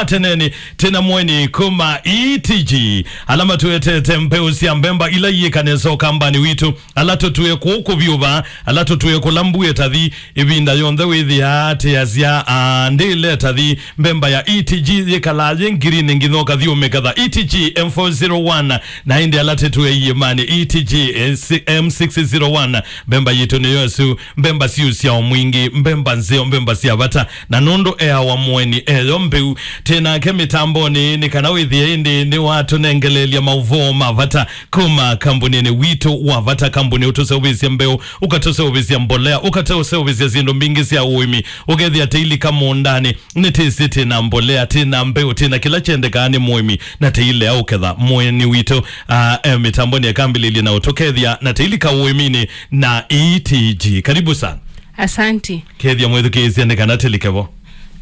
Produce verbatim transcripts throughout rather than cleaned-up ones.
Ateneni, tena mweni kuma E T G. Ala matũetete mbeũ sya mbemba ila iĩka nesa ũkambani witũ. Ala tũtũe kũkũ vyũ va, ala tũtũe kũla mbua ĩtathi, ĩvinda yonthe wĩthĩaa tĩasya, "Aa, ndĩle ĩtathi." Mbemba ya E T G yĩkalaa yĩ ngirini nginya ũkathi ũmĩketha. E T G M four zero one, na ĩndĩ ala tĩtũe iĩmanĩ, E T G M six zero one, mbemba yitũ nĩyo ĩsu. Mbemba siusya o mwingĩ, mbemba nzeo, mbemba sya vata. Na nũndũ eawa mũeni eyo mbeu, tĩ nake mĩtambonĩ nĩ kana wĩthĩe ĩndĩ nĩwatũnengeleelya maũvoo ma vata kuma kambunĩnĩ witũ wa vata, kambunĩ ũtũseũvĩsya mbeũ, ũkatũseũvĩsya mbolea, ũkatũseũvĩsya syĩndũ mbingĩ sya ũĩmi, ũkethĩa tĩilika mũũndanĩ, nĩtĩsĩ tĩ na mbolea, tĩ na mbeũ, tĩ na kĩla kyendekaa nĩ mũĩmi, na tĩilea ũketha. Mũeni witũ, ah, e mĩtambonĩ akambĩlĩlye na ũtũkethya na tĩilika ũĩminĩ na E T G. Karibu sana. Asanti. Kethya mwĩthukĩĩsya nĩ kana tĩlike vo.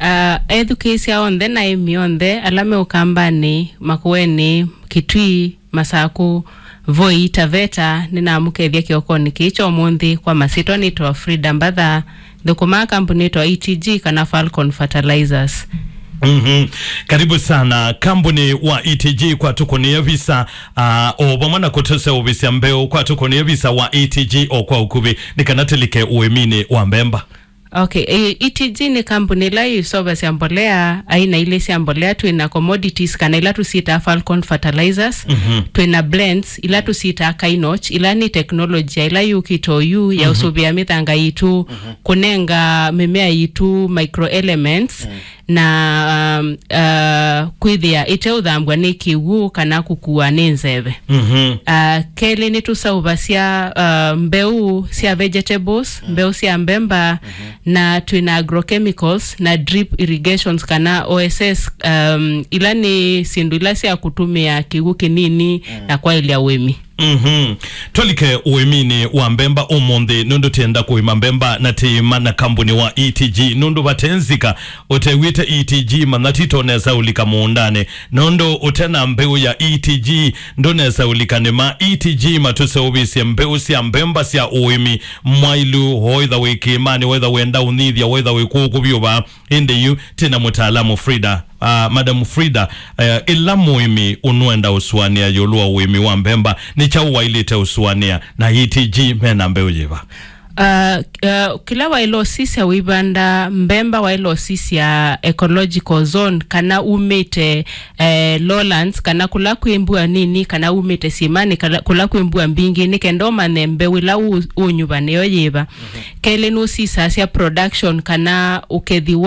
Ah, ethukĩĩsya onthe na aĩmi onthe ala me ũkambanĩ, Makueni, Kitui, Masaku, Voi, Taveta, nĩnamũkethya kĩokonĩ kĩĩ kya ũmũnthĩ. Kwa masyĩtwa nĩtawa Frida Mbatha, thũkũmaa kambunĩ ĩtawa E T G kana Falcon Fertilizers. Mhm. Karibu sana. Kambunĩ wa E T G kwa tũkũnĩa visa, ah, o vamwe na kũtũseũvĩsya mbeũ kwa tũkũnĩa visa wa E T G o kwa ũkuvĩ, nĩ kana tĩlike ũĩminĩ wa mbemba. Okay, e, E T G nĩ kambunĩ ĩla yĩseũvasya mbolea aina ilĩ sya mbolea. Twĩ na commodities kana ila tũsyĩtaa Falcon Fertilizers, mhm, twĩ na blends ila tũsyĩtaa Kynoch, ila nĩ teknolojia ila yũkĩte oyu ya, mhm, ũsũvĩa mĩthanga yitũ, mhm, kũnenga mĩmea yitũ microelements, mm, na, um, uh, kwĩthĩa ĩteũthambw'a nĩ kĩw'ũ kana kũkuwa nĩ nzeve. Mhm. Uh, kelĩ nĩtũseũvasya, uh, mbeũ sya vegetables, mm, mbeũ sya mbemba, mhm, na twĩ na agrochemicals na drip irrigations kana O S S, um, ila nĩ syĩndũ ila sya kũtũmĩa kĩw'ũ kĩnini, mm, na kwaĩlya ũĩmi. Mhm. Tũlike ũĩminĩ wa mbemba ũmũnthĩ, nũndũ tĩenda kũĩma mbemba na tĩĩma na kambunĩ wa E T G, nũndũ vate nzika ũtew'ĩte E T G, manya tito nesa ũlika mũũndanĩ, nũndũ ũte na mbeũ ya E T G, ndũnesa ũlika nĩma. E T G matũseũvĩsye mbeũ sya mbemba sya ũĩmi mwailu, oitha wĩ kĩĩmanĩ, oitha wenda ũnyithya, oitha wĩ kũkũ vyũ va. Ĩndĩ yu tĩ na mũtaalamu Frida. Ah, Madam Frida, eh, ĩla mũĩmi ũnũenda ũsũanĩa ĩũlũ wa ũĩmi wa mbemba, nĩ kyaũ waĩlĩte ũsũanĩa, na E T G mena mbeũ yĩva? Ah, ah, kĩla waĩle ũsisya wĩvanda mbemba, waĩle ũsisya ecological zone, kana umĩte, eh, lowlands, kana kũla kwĩ mbua nini, kana umĩte syĩmanĩ, kala-, kũla kwĩ mbua mbingĩ, nĩ kenda ũmanye mbeũ ĩla ũ-, ũnyuva nĩyo yĩva. Mhm. Kelĩ, nũsisasya production kana ũkethi wa